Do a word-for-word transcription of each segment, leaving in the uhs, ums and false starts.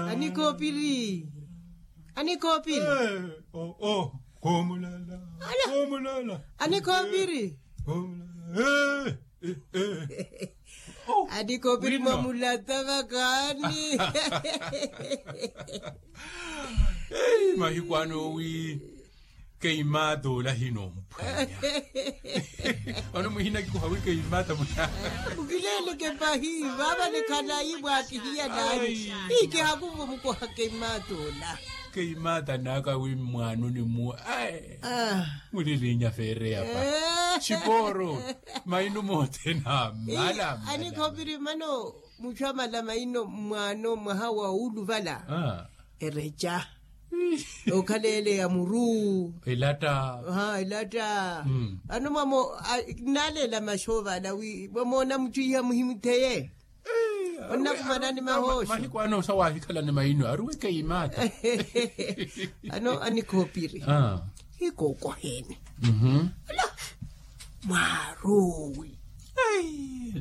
Anikhoopiri. Anikhoopiri. Koomulala. Koomulala. Anikhoopiri. Anikhoopiri mwamulata vakaani. Mahiku ano wi keimata ola hinomphwanya. Vano muhina kikuha wi keimata muna. Mukileleke pahi vava nikhalayi mwakihiya nani. Ikihakuvo mukuha keimata ola. Keimata naka wi mwanoni mu ai. Mulilinya feereya pa. Xiporo maino mothene amala. Anikhoopiri mano muchu amala maino mwaano mwaha wa uluvala. Ereca. Okhala ele ya muru. Elatta. Elatta. Ano mwamo naleela maxoova ala wi mwamoona muttwiiha muhimutheye. Onnakumanani mahooxo. Mahiku ano osa waahikhalani maino aruweke imaata. Ano anikhoopiri. Hikookoheni. Ala mwaaroowi.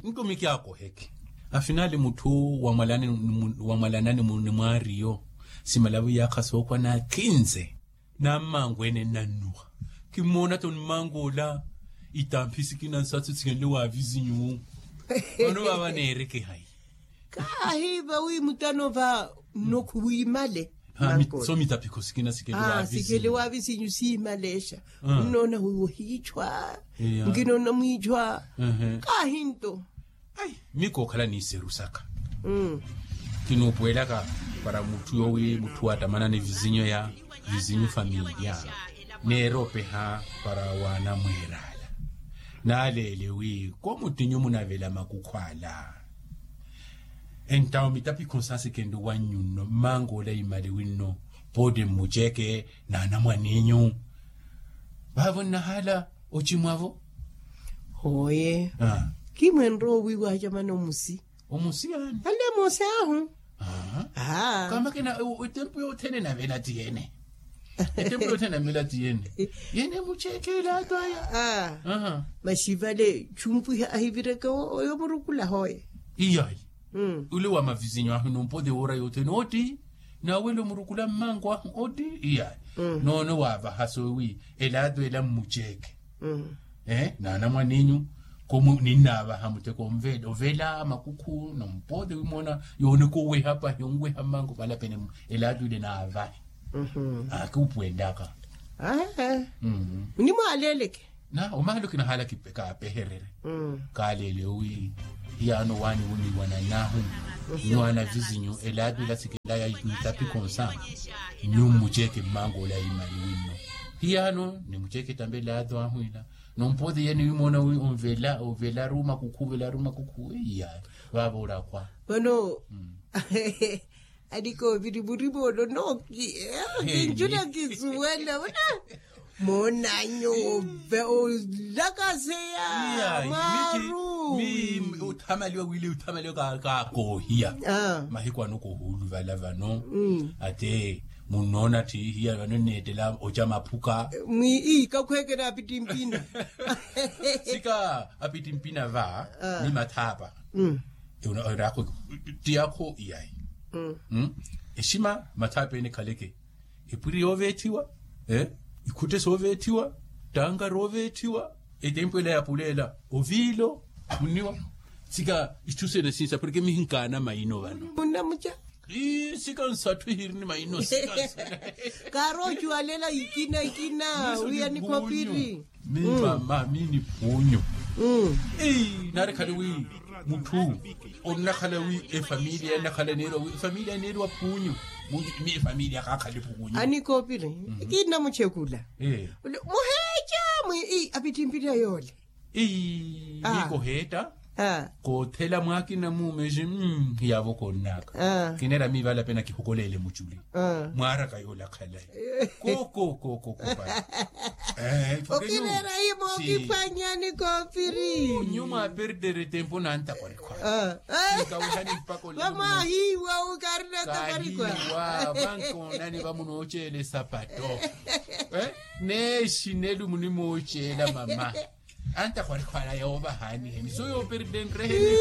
Nto mikyakoheke. Afinali mutthu wamwalanani ni mwaariyo simalavu yaakha sookwa na kinze. Nammangu ene nnannuwa. Kimmoona to mmangu ola itamphi sikina nsatsu sikenle wa vizinyu. Vano vava neereke hayi? Kaahi vawi mutano va nnokhu wiimale. So mitaphikho sikina sikele wa vizinyu siimalexa. Nnoona wi ohiichwa. Nkinoona mwiichwa. Kaahi nto. Ai, mikookhala n'iseru saka. Kinuupuwelaka para mutthu yoowi mutthu wattamanani vizinyu ya vizinyu familiya. Neeropeha para waanamweer'ala. Naaleele wi ko muttinyu munavela makukhu ala. Entawo mitapikho nsasikhenle wannyu nno mmangu ola imaliwi nno. Pooti mmuceke n'anamwan'inyu. Vaavo nnahaala ocimwa-vo. Hooye. Kimwenre owiiwa acamana omusi. Omusi yaani? Alle moosi ahu. Kamakina etempu yothene navela tiyene. Etempu yothene navela tiyene. Yene muceke elato aya. Maxi vale chumpwiha ahivireke oyo murukula hooye. Iyayi. Ule wa mavizinyu ahu numpote woora yothene otti. Nawelo murukula mmangu ahu otti iyayi. Noone waavaha soowi elato ela mmuceke. Naanamwan'inyu komu ninnaavaha mutteko ovela makukhu nompote wimoona yooneka oweha pahi onweha mmangu palapene. Elato ile naavahe. Akuupuwelaka. Nimwaaleleke. Na omahala okinahala kaapeherere. Kaalele owi hiyaano waani wuniiwanan'ahu. Nyu anavizinyu elato ila sikelaya nitapikho nsa. Nyu mmuceke mmangu ola imaliwi nno. Hiyaano nimuceke tambe elato ahu ila. Nompote yene wimoona wi onvela ovelaru makukhu ovelaru makukhu iya. Vaava orakhwa. Vano. Anikhoopiri murima ono nooki. Kinjuna kisuwela. Moonanyu olakaseya. Mwaru. Othamaliwa wili othamaliwa kaakoohiya. Mahiku ano kohuuluvala vano. Ate munnoona ttiihiya vano nneettela oca maphuka. Mwi ii kakhweekela apittimpina. Sika apittimpina va ni mathaapa. Eraakho ttiyakho iyayi. Exima mathaapa ene ekhaleke. Epwiri yooveethiwa. Ikhutte sooveethiwa. Ttanka rooveethiwa. Etempu ela ya puleela oviilo. Munniwa. Sika itthu sene sinsa porke mihinkaana maino vano. Munnamuca. Sika nsatthu ihirini maino sika nsatthu. Kaaroocuwalela ikina ikina wiya nikhopiri. Mi mama mi ni phuunyu. Nari khali wi mutthu onnakhala wi efamiliya ennakhala eneeriwa wi efamiliya eneeriwa phuunyu. Mi efamiliya kaakhali phuunyu. Anikoopiri. Kinnamuchekula. Muheeca mwi apittimpiriya yoole. Ii miiko heetta. Koothela mwaakina muume ji. Hiyaavo koonnaka kineera miivala pena kihokoleele muculi. Mwaaraka yoola khalayi. Koko koko kopa. Okireera himo okiphwanyani koopiri. Nyu mwaaperdere tempo nantakwarikhwa. Vamwahiiwa ukarinatakwarikhwa. Vankoonani vamunooceela esapato. Neexinelu munimooceela mama. Antakhwalikhwala yoovahaaniheni so yooperidenreheni.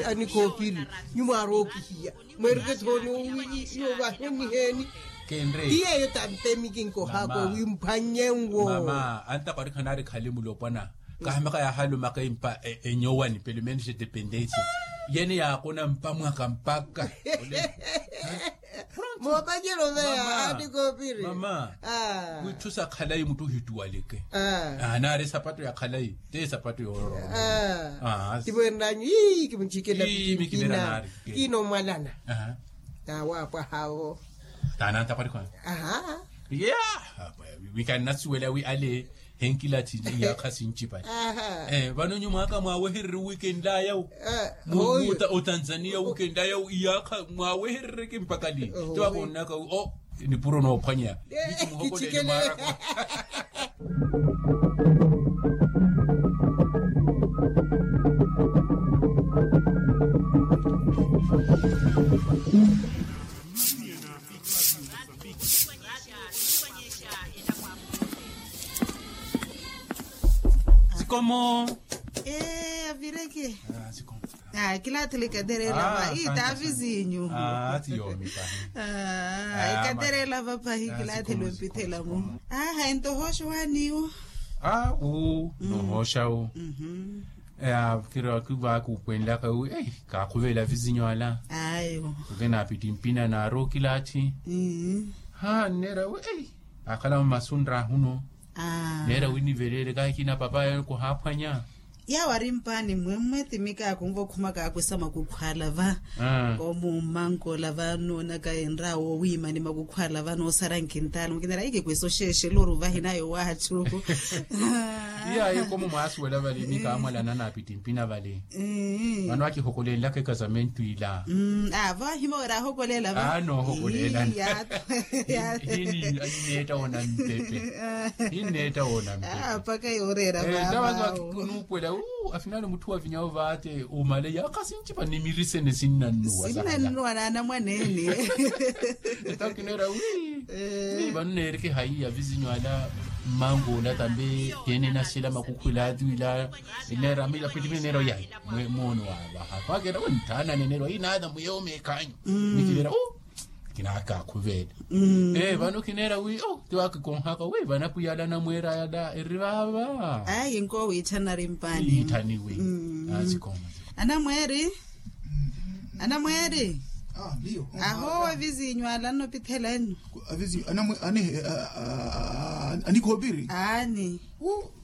Anikhoopiri, nyuwo mwaarookihiya mweereke thooni owi. Iyo vaheni heeni. Kenre ti yeeyo tampemi kinkohaka wi mphwanye nwo. Mama antakwarikha naari khali mulopwana. Kahamaka yaahalumaka empa enyowani pelo menos de dependencia. Yene yaakona mpa mwaka mpaka moopanyelo veya anikhoopiri. Mama, witthu sa khalayi muttu ohittuwaleke. Naari esapato ya khalayi ti esapato yoororoma. Tivo enranyu ii kimuchikela. Ii mikinera naari. Kinomwalana. Tawaapwaha vo. Taanantakwarikha. Aha. Iya. Mikanasuwela wi ale henkilathi iyaakha sinchipale. Vano nyuwo mwaka mwaawehererye wikenlayawu. Otanzania wikenlayawu iyaakha mwaawehererye kimpakali. Tiwaka onnaka wi o nipuro noophwanya. Kichimuhokolele mwaaraka. Sikomo. Ee avireke. Kilaathi likaterela va itavi sinyu. Ikaterela va pahi kilaathi lwempithela mu. Aha ento hooxa waniwo. Aa uu nohooxa wu. Kiri wakivaaka upwenlaka wi ei kaakhuvela vizinyo ala. Ayo. Oke naapittimpina naari okilaathi. Haa nneera wi ei akhala mmasunra ahuno. Neera wi niveleele kahi kina papa yawe kuhaaphwanya. Yawo ari mpaani mmwemmwe ti mikaakhu nvo khuma kaakwesa makukhwala va. Koomummankola va nnoonaka enraawo wiimani makukhwala va noosara nkintaala mukinera ikikwesa oxeexela oruvahi nayo waatthu. Iyayi komo mwaasuwela vale mikaamwalana naapittimpina vale. Vano akihokolelaka ekasamentu ila. Avo ahima wira ahokolela va. Noohokolela. Hineetta woona mpepe. Hineetta woona mpepe. Mpaka yooreera vava. Nuukwela afinali mutthu wavinyawo vaate omale yaakha sinchipa nimirisene sinnannuwa. Sinnannuwa naanamwaneene. Etakineera wi vano neereke hayi ya vizinyo ala. Mmango ola tambe tene nasela makukhwila atiwila. Eneera mila pitipine neera oyayi. Moono waavaha kwakera wenthaana neneera oyinaatha muyewo meekhanyu. Nikineera o kinaakakhuvela. Vano kineera wi o tiwakikonhaka wi vanapwiya ala anamweera ala eri vaava. Ayi nkoowiitthana ari mpaani. Iitthaniwi. Anamweeri. Anamweeri. Ahoowa vizinyu ala annopithelani. Anikhoopiri. Aani.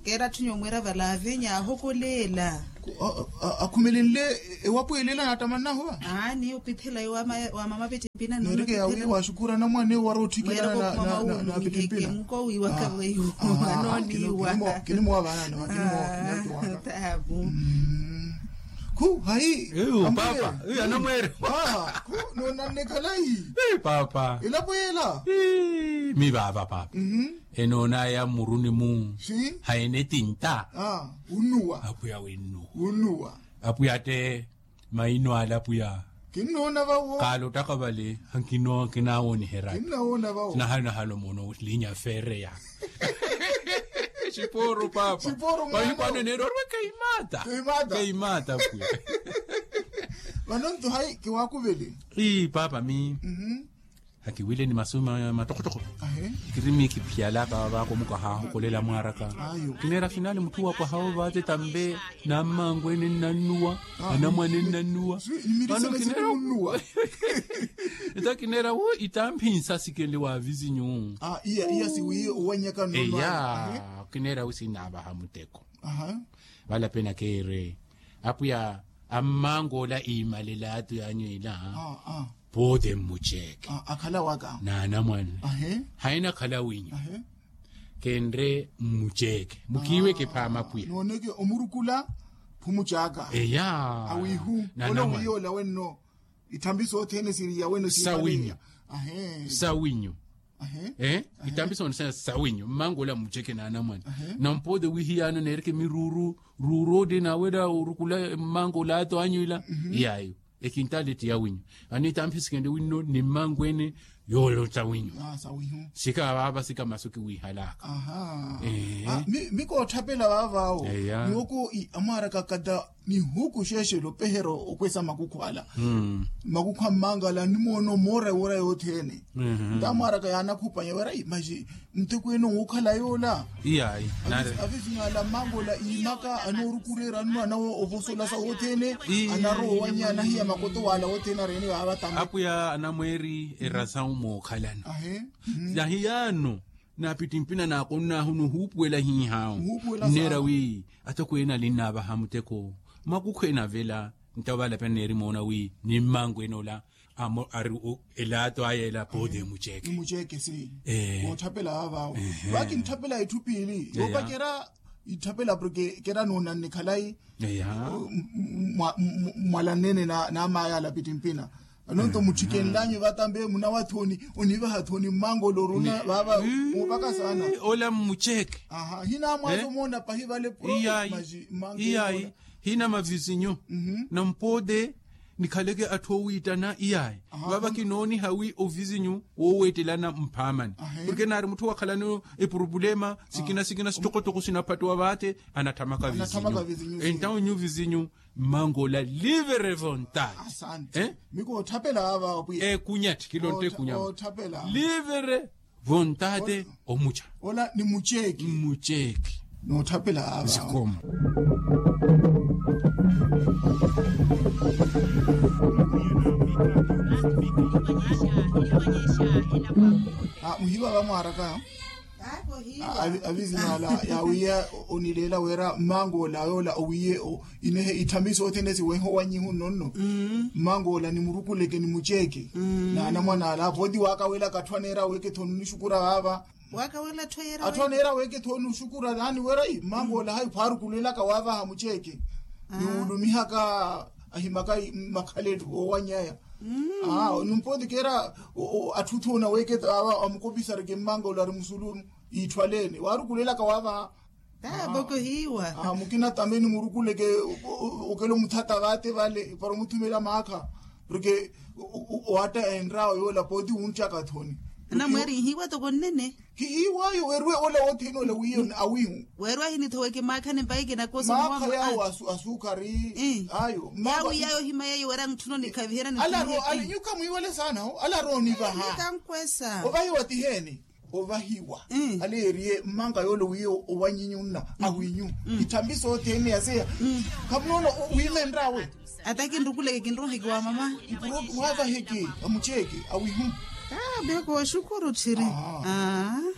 Keera atthu nyuwo mwiira valaavinya ahokoleela. Akhumelenle ewapwelela naatamannaho va. Aani opithela yo wamama pittimpina. Neereke yawi waaxukuura anamwane wara otthikela. Naapittimpina. Nkowiiwaka weiwo. Anooniwa. Kinimuwa vaana. Tapu. Khu hayi. Papa anamweere. Khu noonanne khalayi. Papa elapo yeela. Mivaava papa. Enoonaya mmuruni-mu. Hayene tinta. Apwiya winnuwa. Apwiya te maino ala apwiya. Kaalotaka vale. Kinaawoniherya. Nahalo nahalo moono linya feereya. Xipooru papa. Vahikwaano neerorwe keimaata. Keimaata apwiya. Vano nto hayi kiwaakuvele. Ii papa mi. Hakiwile ni masu matokotoko. Kiri miikiphiyalaka vaako mukahahokolela mwaaraka. Kineera afinali mutthu wa pwaha ovaate tambe nammangu ene nnannuwa. Anamwane nnannuwa. Vano kineera ita kineera wo itamphi nsasikenle wa vizinyu. Iya siwiiye owanyaka nnannuwa. Eya kineera wo sinavaha muteko. Vala pena keere apwiya ammangu ola iimalela atu yanyu ila. Poote mmuceeke. Akhala waka naanamwane. Hayina khala winyu. Kenre mmuceeke mukiiweke phaama apwiya. Nooneke omurukula phumucaaka. Eya awiihu ole wiiya ola wenno. Ithambi sothene siriya wenno sawinyu. Sawinyu. Ithambi sothene sawinyu mmangu ola mmuceeke naanamwane. Nampoote wiihiyano neereke miruuru ruuru odi naawela orukula mmangu ola ato anyu ila. Iyayo ekintaali ti yawinyu. Vano itamphi sikenle winno ni mmangu ene. Yoolota winyu. Sika vaava sika masu kiwiihalaka. Mikootthapela vaavaawo. Niwoko amwaaraka kata nihuku xeexelo pehero okwesa makukhu ala. Makukhu a mmankala nimoona omoora ewora yothene. Ntamwaaraka yaanakhupanya wera maxi ntekweene owookhala yoola. Avisinyaala mmankoola iimaka anoorukureera nno anawo ovosola sa wothene. Anarowa owanya anahiya makoto waala wothene areene vaava tame. Apwiya anamweeri erasa omookhalana. Nahiyaano naapittimpina naakonnahu nuhuupuwela hiihaawu. Nneera wi atokweene alinnaavaha muteko makukhu enavela. Nto valapya nneeri moona wi ni mmankweene ola amo ari elato aya ela pooti emuceeke. Emuceeke si. Wootthapela vaavaawo. Vakintthapela itthu piili yoopacerya itthapela porke kera noonanne khalayi. Mwala nnene n'amaya alapittimpina. Anonto mutthikenlanyu vatambe munawathoni onivahathoni mmankolo oruna vaava. Muupaka saana ola mmuceeke. Hinaamwaza omoona pahi vale. Iyayi. Hina mavizinyu na mpote nikhaleke atthu oowiittana iyayi. Vava kinooniha wi ovizinyu wooweettelana mphaamani porke naari mutthu wakhalani epurupulema sikina sikina sitokotoko sinaphattuwa vaate. Anatthamaka vizinyu. Entawo nyu vizinyu mmankoola livre vontade. Mikootthapela vaava pwiya ekunyathi kilontte ekunyama livre vontade. Omuca ola ni muceeki. Muceeki. Nootthapela vaava sikhomo. Muhiva vamwaaraka avizinyaala yaawiiya onileela wira mmankoola yoola owiiye inehe itthami sothene siwehe owanyihu nno nno. Mmankoola nimurukuleke nimuceeke n'anamwana ala pooti waakawelaka atthu aneera weeketho nunixukura vaava. Atthu aneera weeketho nuxukura naani wira mmankoola hayi khwaarukulelaka waavaha muceeke niwulumihaka ahimaka makhalelo oowanyaya. Numpooti keera atthu thoona weeketho aava amukopisareke mmankoola ari musulu iitthwaleene waarukulelaka waavaha. Mukina tameni murukuleke okelo muthata vaate vale para omuthumela maakha porke owaatta enraawo yoola pooti wunttaka thoni. Anamweeri ihiiwa toko nnene. Kihiiwayo weerwe ola wothene ola wiiyo awiihu. Weerwe ahinithoweke maakhani mpayi kinakosa maakha yaawo asukhari. Ayo yaawo yaayo ohima yeeyo weera ntthuno nikhaviherya ntthuno. Nyuka mwiiwale saana ho ala aroonivaha. Ovahiwa tiheeni. Ovahiwa aleeriye mmanka yoole wiiye owanyinyu nna awinyu. Ithambi sothene yaseya khamunoona wiimenraawe. Ata kinrukuleke kinroheke wa mama. Mpuro waavaheke amucheeke awihu. Beko oxukuru tthiri.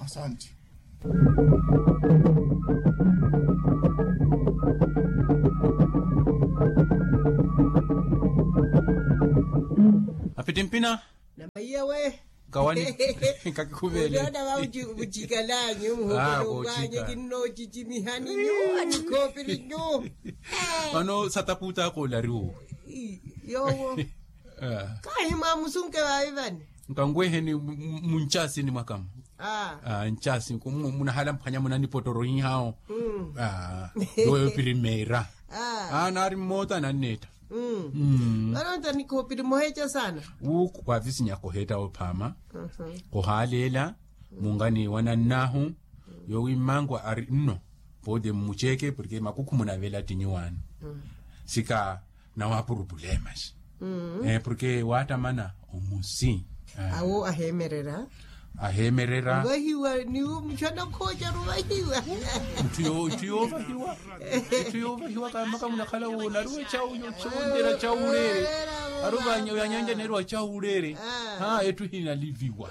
Asante. Apitimpina. Namaiya we. Kawani. Kakikuvele. Uliona va vuchikalanyu muhokelo kwanyu kinnochichimihani nyu atikopili nyu. Vano sataputa akolariwo. Yowo. Kahi mwamusunke vaivani. Nkanweheni munchasini mwakamu. Nchasi munahala mphwanya munanipotoro hihawo. Yoyo primeira. Naari mmota nanneetta. Vano nta nikhoopili moheeca saana. Wuuku kwavisinyaka oheetta ophama. Khuhaaleela mungani wanannahu. Yowi mmankwa ari nno. Pote mmucheeke porke makukhu munavela tinyuwaani. Sika nawapurupulemaxi. Porke waattamana omusi. Awo aheemerera. Aheemerera. Ovahiwa niwo muchana khoocharu ovahiwa. Itthu yoovahiwa. Itthu yoovahiwa kaamaka munakhala woona ari wechawu yochowonjera chawuleere. Ari ovanyanja neeri wachawuleere. Etthu hinaliviwa.